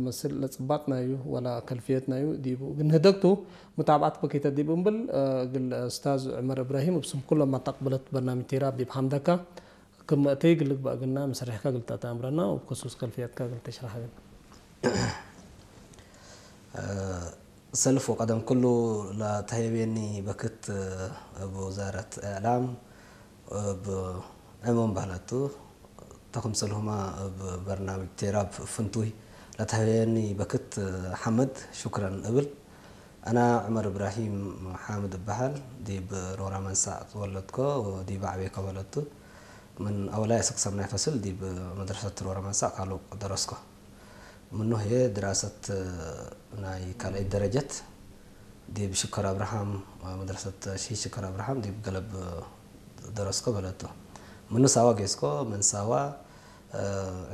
መስል ለጽባጥናዩ ወላ ከልፍየትናዩ ዲቡ ግን ህደግቱ ሙታብዓት በከይተ ዲቡ እምብል ግል ኡስታዝ ዑመር እብራሂም እብ ስም ኩሎም ኣጣቅብለት በርናምጅ ቴራ ዲብ ሓምደካ ክም እተይ ግልግባእ ግና ምስሪሕካ ግልጠ ተኣምረና ወብ ከሱስ ከልፍየትካ ግልተ ሽራሕ ግን ሰልፍ ወቀደም ኩሉ ለተህየቤኒ በክት እብ ወዛረት እዕላም እብ ዕሙም ባህለቱ ተክምሰልሁማ እብ በርናምጅ ቴራብ ፍንቱይ ለተህየኒ በክት ሓምድ ሹክረን እብል። ኣና ዑመር እብራሂም ሓምድ እበሃል። ዲብ ሮራ መንሳዕ ተወለድኮ ወዲብ ዓቤኮ በለቱ። ምን ኣወላይ እስክ ሰምናይ ፈስል ዲብ መድረሰት ሮራ መንሳዕ ካሉቅ ደረስኮ። ምኑ ህየ ድራሰት ናይ ካልኣይ ደረጀት ዲብ ሽከር ኣብርሃም መድረሰት ሺ ሽከር ኣብርሃም ዲብ ገለብ ደረስኮ በለቱ። ምኑ ሳዋ ጌስኮ ምን ሳዋ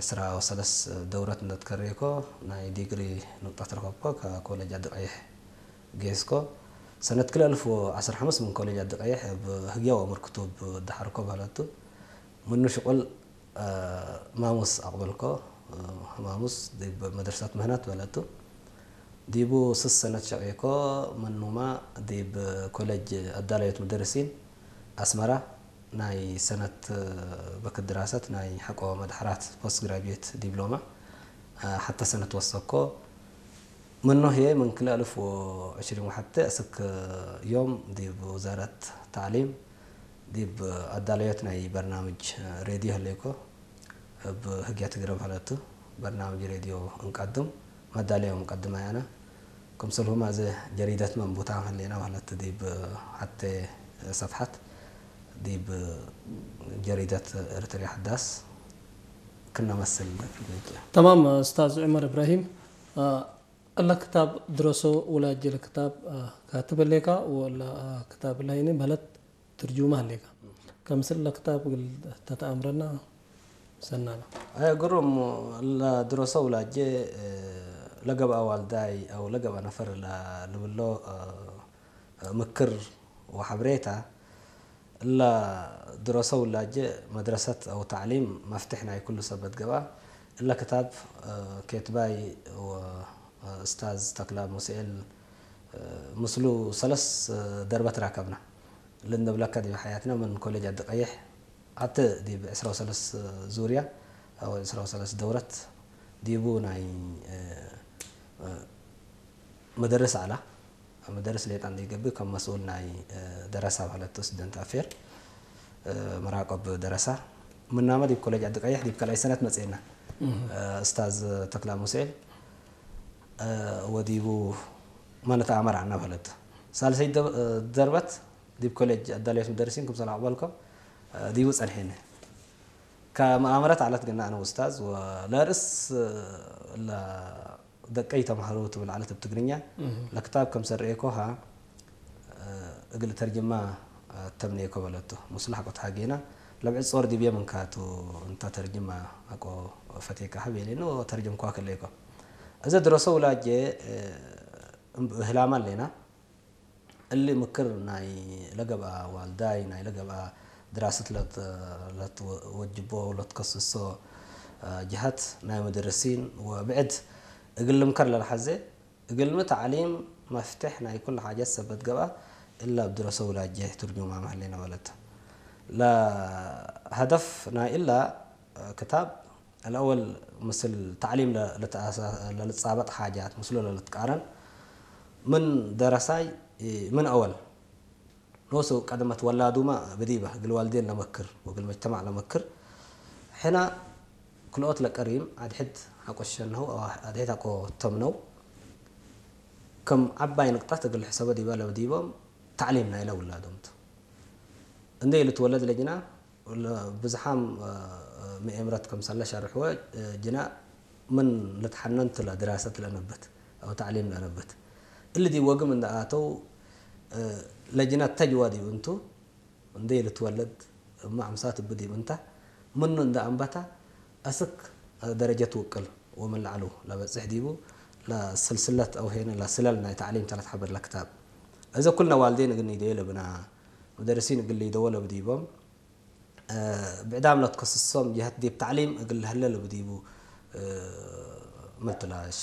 ዕስራ ወሰለስ ደውረት እንደትከሬኮ ናይ ዲግሪ ንቅጣት ረከብኮ ከኮለጅ ዓዲ ቀይሕ ጌስኮ ሰነት ክልተ ኣልፍ ወዓሰርተ ሓሙሽተ ምን ኮሌጅ ዓዲ ቀይሕ ብህግያዊ ኣምር ክቱብ ዳሓርኮ በለቱ። ምኑ ሽቁል ማሙስ ኣቕበልኮ። ማሙስ ዲብ መድረሰት ምህነት በለቱ። ዲቡ ስስ ሰነት ሸቂኮ ምኑማ ዲብ ኮሌጅ ኣዳላዮት ሙደርሲን ኣስመራ ናይ ሰነት በክት ድራሰት ናይ ሓቆ መድሓራት ፖስት ግራጁዌት ዲብሎማ ሓተ ሰነት ወሰኮ። ምኑ ህየ ምን ክልተ ኣልፍ ወዕሽሪን ወሓተ እስክ ዮም ዲብ ውዛረት ታዕሊም ዲብ ኣዳለዮት ናይ በርናምጅ ሬድዮ ህሌኮ። እብ ህግያ ትግረ በህለቱ በርናምጅ ሬድዮ እንቀድም መዳለዮ ምቀድም ኣያና ክምሰልሁማ እዘ ጀሪደት መንቡታ ህሌና በህለት ዲብ ሓተ ሰፍሓት ዲብ ጀሪደት ኤርትርያ ሓዳስ ክነመስል። ተማም ኡስታዝ ዑመር እብራሂም፣ እለ ክታብ ድረሶ ውላጅ ለክታብ ካትብ ህሌካ ወለ ክታብ ላይኒ በህለት ትርጁማ ህሌካ ከምስል ለክታብ ግል ተተኣምረና ሰናና። ኣየ ግሩም። ለድረሶ ውላጀ ለገብኣ ዋልዳይ ኣው ለገብኣ ነፈር ልብሎ ምክር ወሓብሬታ እላ ድረሰ ውላጀ መድረሰት ኣው ታዕሊም መፍትሕ ናይ ኩሉ ሰበት ገብኣ። እለ ክታብ ኬትባይ ወእስታዝ ተክላ ሙስኤል ምስሉ ሰለስ ደርበ ትራከብና። ልንብለካ ዲብ ሓያትና ምን ኮሌጅ ዓዲ ቀይሕ ኣተ ዲብ ዕስራ ወሰለስ ዙርያ ኣው ዕስራ ወሰለስ ደውረት ዲቡ ናይ መደርስ ኣላ መደርስ ሌጣ እንዲገብእ ከም መስኡል ናይ ደረሳ ማለት ስቱደንት ኣፌር መራቆብ ደረሳ ምናመ ዲብ ኮሌጅ ዓዲ ቀይሕ ዲብ ካልኣይ ሰነት መጽኤና እስታዝ ተክላ ሙሴል ወዲቡ ማለት ኣመራ እናበለት ሳልሰይ ደርበት ዲብ ኮሌጅ ኣዳለዮት መደርሲን ክምሰል ኣቕበልኮ ዲቡ ጸንሐኒ ከመኣመረት ዓለት ግና ኣነ ውስታዝ ለርእስ ደቀይ ተምሃሮ ትብል ዓለት ብ ትግርኛ ለክታብ ከም ሰርእየኮ ሃ እግል ተርጅማ ተምኔኮ በለቶ። ሙስላ ሓቆት ሃጌና ለብዕድ ጾር ዲብየ ምንካቱ እንታ ተርጅማ ኣቆ ፈቴካ ሃብ የሌኖ ተርጅምኳ ከለይኮ። እዘ ድረሶ ውላጄ ህላማ ሌና እሊ ምክር ናይ ለገብኣ ዋልዳይ ናይ ለገብኣ ድራስት ለትወጅቦ ለትከስሶ ጅሀት ናይ መደረሲን ወብዕድ እግል ልምከር ለልሓዜ እግልሚ ተዕሊም መፍትሕ ናይ ኩሉ ሓጀት ሰበት ገብኣ እላ ብድረሰ ውላጀ ትርጁማ መህሌና በለት። ለሀደፍ ናይ እላ ክታብ الأول ምስል ተዕሊም ለልጻበጥ ሓጃት ምስሉ ለልትቃረን ምን ደረሳይ ምን أول ኖሱ ቀደመት ወላዱማ ብዲበ እግል ዋልዴን ለመክር ወእግል መጅተማዕ ለመክር ሕና ክልኦት ለቀሪም ኣድሕድ ሓቆ ሸነው ኣድሕድ ሓቆ ተምነው ከም ዓባይ ንቅጣት እግል ሕሰበ ዲበ ለብዲቦም ተዕሊም ናይለ ውላዶምቱ እንደ ልትወለድ ለጅና ብዝሓም ምኤምረት ከምሰለ ሸርሕወ ጅና ምን ልትሓነንት ለድራሰት ለነበት ኣው ተዕሊም ለነበት እሊ ዲብ ወግም እንደ ኣተው ለጅና ተጅዋ ዲብ እንቱ እንደ ልትወለድ እማ ኣምሳት እብ ዲብ እንታ ምኑ እንደ ኣንበታ ኣስክ ደረጀት ውቅል ወምን ላዕሉ ለበጽሕ ዲቡ ለስልስለት ኣው ሄነ ለስለል ናይ ተዕሊም ተለት ሓበር ለክታብ እዘ ኩልነ ዋልዴን እግል ኒደዮ ለብና መደርሲን እግል ሊደዎ ለብዲቦም ብዕዳም ለትከስሶም ጅሀት ዲብ ተዕሊም እግል ለህለ ለብዲቡ ምልትላ